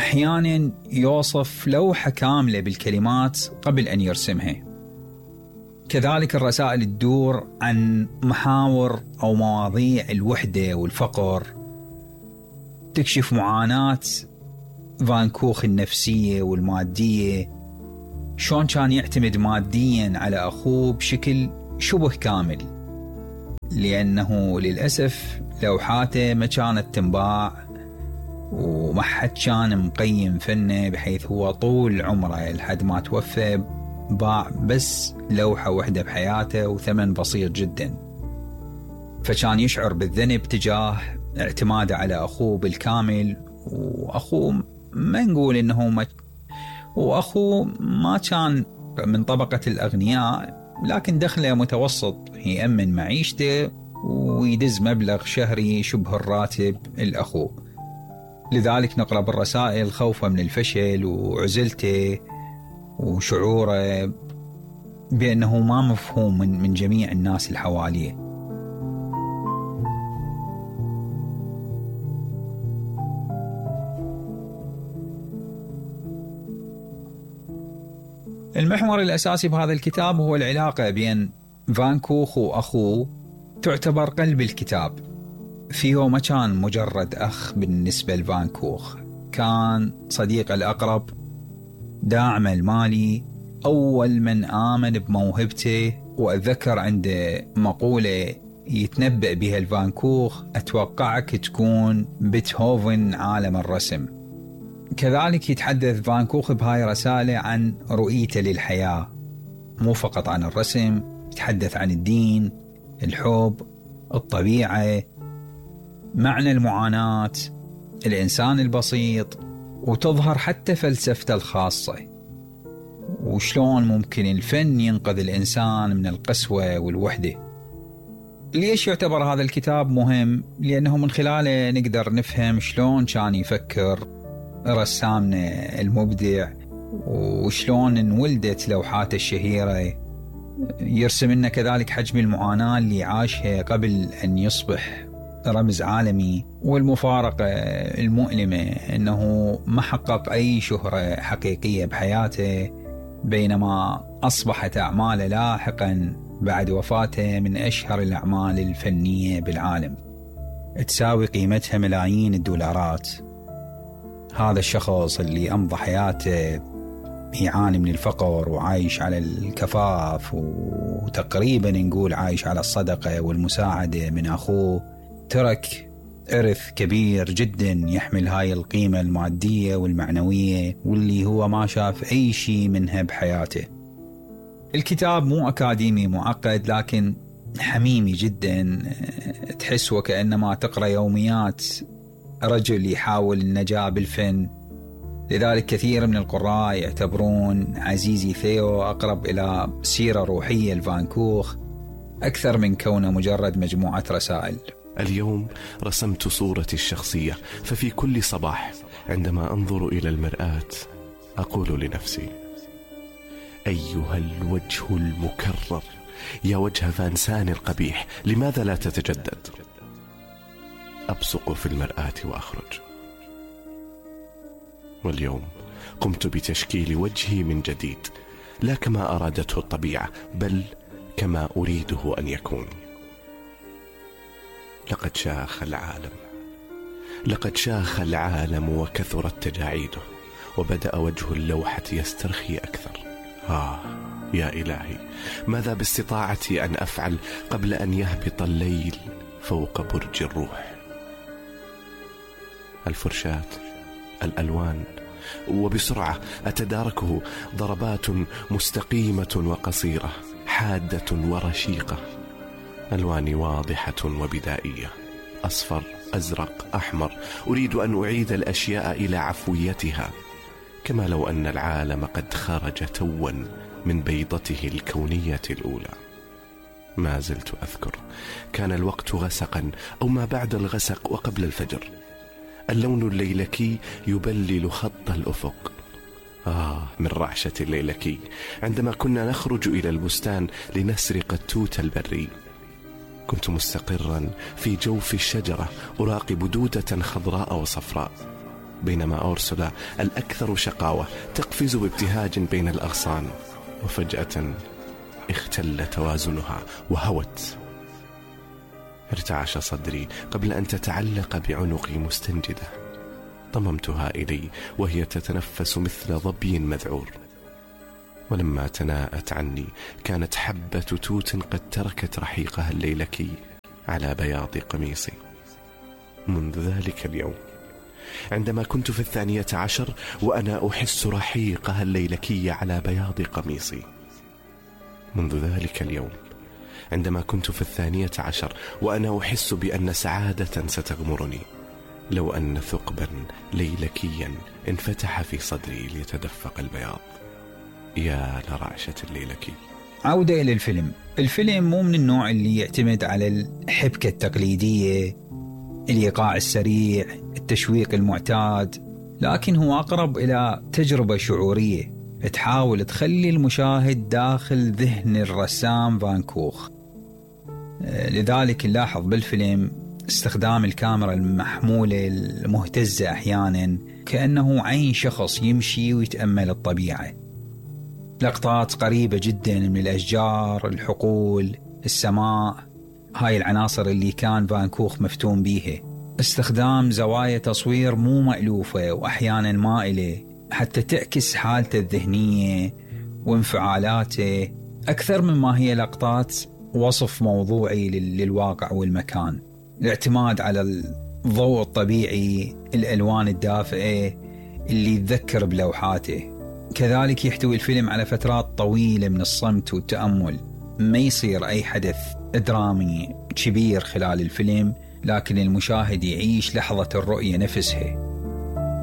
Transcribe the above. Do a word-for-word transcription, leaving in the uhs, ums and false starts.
أحيانا يوصف لوحة كاملة بالكلمات قبل أن يرسمها. كذلك الرسائل تدور عن محاور أو مواضيع الوحدة والفقر، تكشف معاناة فان كوخ النفسية والمادية، شلون كان يعتمد ماديا على أخوه بشكل شبه كامل، لأنه للأسف لوحاته ما كانت تنباع وما حد كان مقيم فنه، بحيث هو طول عمره لحد ما توفى باع بس لوحة واحدة بحياته وثمن بسيط جدا. فكان يشعر بالذنب تجاه اعتماده على أخوه بالكامل، وأخوه ما نقول إنه ما وأخوه ما كان من طبقة الأغنياء، لكن دخله متوسط يأمن معيشته ويدز مبلغ شهري شبه الراتب الأخوه. لذلك نقرأ بالرسائل خوفه من الفشل وعزلته وشعوره بأنه ما مفهوم من, من جميع الناس اللي حواليه. المحور الأساسي بهذا الكتاب هو العلاقة بين فان كوخ وأخوه، تعتبر قلب الكتاب. فيه ما كان مجرد أخ بالنسبة لفان كوخ، كان صديق الأقرب، داعمه المالي، أول من آمن بموهبته. وأتذكر عنده مقولة يتنبأ بها الفان كوخ: أتوقعك تكون بيتهوفن عالم الرسم. كذلك يتحدث فان كوخ بهاي رسالة عن رؤيته للحياة، مو فقط عن الرسم، يتحدث عن الدين، الحب، الطبيعة، معنى المعاناة، الإنسان البسيط، وتظهر حتى فلسفته الخاصة، وشلون ممكن الفن ينقذ الإنسان من القسوة والوحدة. ليش يعتبر هذا الكتاب مهم؟ لأنه من خلاله نقدر نفهم شلون كان يفكر رسامنا المبدع، وشلون انولدت لوحاته الشهيرة. يرسم لنا كذلك حجم المعاناة اللي عاشها قبل أن يصبح رمز عالمي، والمفارقة المؤلمة أنه ما حقق أي شهرة حقيقية بحياته، بينما أصبحت أعماله لاحقا بعد وفاته من أشهر الأعمال الفنية بالعالم، تساوي قيمتها ملايين الدولارات. هذا الشخص اللي أمضى حياته يعاني من الفقر وعايش على الكفاف، وتقريبا نقول عايش على الصدقة والمساعدة من أخوه، ترك إرث كبير جدا يحمل هاي القيمة المادية والمعنوية، واللي هو ما شاف أي شيء منها بحياته. الكتاب مو أكاديمي معقد، لكن حميمي جدا، تحس وكأنما تقرأ يوميات رجل يحاول النجاة بالفن. لذلك كثير من القراء يعتبرون عزيزي ثيو أقرب إلى سيرة روحية لفان كوخ أكثر من كونه مجرد مجموعة رسائل. اليوم رسمت صورتي الشخصية، ففي كل صباح عندما أنظر إلى المرآة أقول لنفسي: أيها الوجه المكرر، يا وجه فانسان القبيح، لماذا لا تتجدد؟ أبصق في المرآة وأخرج. واليوم قمت بتشكيل وجهي من جديد، لا كما أرادته الطبيعة، بل كما أريده أن يكون. لقد شاخ العالم لقد شاخ العالم وكثرت تجاعيده، وبدأ وجه اللوحة يسترخي أكثر. آه يا إلهي، ماذا باستطاعتي أن أفعل قبل أن يهبط الليل فوق برج الروح؟ الفرشاة، الألوان، وبسرعة أتداركه ضربات مستقيمة وقصيرة، حادة ورشيقة، ألوان واضحة وبدائية، أصفر، أزرق، أحمر. أريد أن أعيد الأشياء إلى عفويتها، كما لو أن العالم قد خرج توا من بيضته الكونية الأولى. ما زلت أذكر، كان الوقت غسقا أو ما بعد الغسق وقبل الفجر، اللون الليلكي يبلل خط الأفق. آه من رعشة الليلكي عندما كنا نخرج إلى البستان لنسرق التوت البري. كنت مستقرا في جوف الشجرة أراقب دودة خضراء وصفراء، بينما أورسولا الأكثر شقاوة تقفز بابتهاج بين الأغصان، وفجأة اختل توازنها وهوت. ارتعش صدري قبل أن تتعلق بعنقي مستنجدة. ضممتها إلي وهي تتنفس مثل ظبي مذعور، ولما تناءت عني كانت حبة توت قد تركت رحيقها الليلكي على بياض قميصي. منذ ذلك اليوم، عندما كنت في الثانية عشر وأنا أحس رحيقها الليلكي على بياض قميصي، منذ ذلك اليوم عندما كنت في الثانية عشر وأنا أحس بأن سعادة ستغمرني، لو أن ثقبا ليلكيا انفتح في صدري ليتدفق البياض. يا لرعشة الليلكي. عودة إلى الفيلم. الفيلم مو من النوع اللي يعتمد على الحبكة التقليدية، الإيقاع السريع، التشويق المعتاد، لكن هو أقرب إلى تجربة شعورية تحاول تخلي المشاهد داخل ذهن الرسام فان كوخ. لذلك نلاحظ بالفيلم استخدام الكاميرا المحمولة المهتزة أحيانا كأنه عين شخص يمشي ويتأمل الطبيعة. لقطات قريبة جدا من الأشجار، الحقول، السماء، هاي العناصر اللي كان فان كوخ مفتون بيها. استخدام زوايا تصوير مو مألوفة وأحيانا مائلة حتى تعكس حالته الذهنية وانفعالاته أكثر مما هي لقطات وصف موضوعي للواقع والمكان. الاعتماد على الضوء الطبيعي، الألوان الدافئة اللي تذكر بلوحاته. كذلك يحتوي الفيلم على فترات طويلة من الصمت والتأمل، ما يصير أي حدث درامي كبير خلال الفيلم، لكن المشاهد يعيش لحظة الرؤية نفسها.